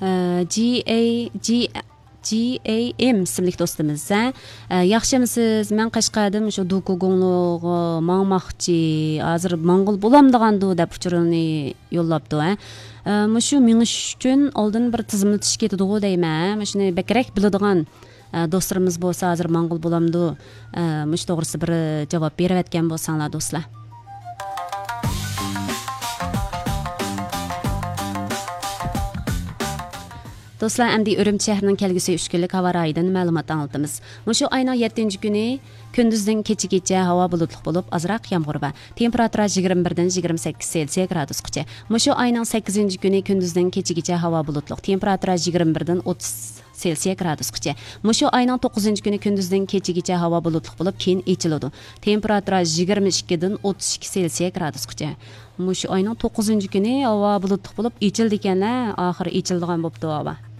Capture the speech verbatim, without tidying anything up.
جي ئەي جي جي ئەي ئېم ئىسىملىك دوستىمىز، ھە. ئە، ياخشىمۇسىز؟ مەن قەشقەردىن شۇ دوكۇگۇڭلۇغا ماڭماقچى. ھازىر ماڭغىلى بولامدىغاندۇ دەپ ئۇچۇرىنى يوللاپتۇ، ھە. ئە، مۇشۇ مېڭىش ئۈچۈن ئالدىن بىر تىزىملىتىش كېتىدىغۇ دەيمەن، ھە. مۇشۇنى بەكرەك بىلىدىغان، ئە، دوستلىرىمىز بولسا ھازىر ماڭغىلى بولامدۇ؟ ئە، مۇشۇ توغرىسىدا بىر جاۋاب بېرىۋەتكەن بولساڭلار دوستلار. دوستلار، ئەمدى ئۈرۈمچى شەھىرىنىڭ كەلگۈسى ئۈچ كۈنلۈك ھاۋا رايىدىن مەلۇمات ئاڭلىتىمىز. مۇشۇ ئاينىڭ يەتتىنچى كۈنى كۈندۈزدىن كېچىگىچە ھاۋا بۇلۇتلۇق بولۇپ، ئازراق يامغۇر بار. تېمپېراتۇرا يىگىرمە بىردىن يىگىرمە سەككىز سېلسىيە گرادۇسقىچە. مۇشۇ ئاينىڭ سەككىزىنچى كۈنى كۈندۈزدىن كېچىگىچە ھاۋا بۇلۇتلۇق. تېمپېراتۇرا يىگىرمە بىردىن ئوتتۇز سېلسىيە گرادۇسقىچە. مۇشۇ ئاينىڭ توققۇزىنچى كۈنى كۈندۈزدىن كېچىگىچە ھاۋا بۇلۇتلۇق بولۇپ، كېيىن ئېچىلىدۇ. تېمپېراتۇرا يىگىرمە ئىككىدىن ئوتتۇز ئىككى سېلسىيە گرادۇسقىچە. مۇشۇ ئاينىڭ توققۇزىنچى كۈنى ھاۋا بۇلۇتلۇق بولۇپ، ئېچىلدىكەن-ھە، ئاخىرى ئېچىلىدىغان بوپتۇ ھاۋا.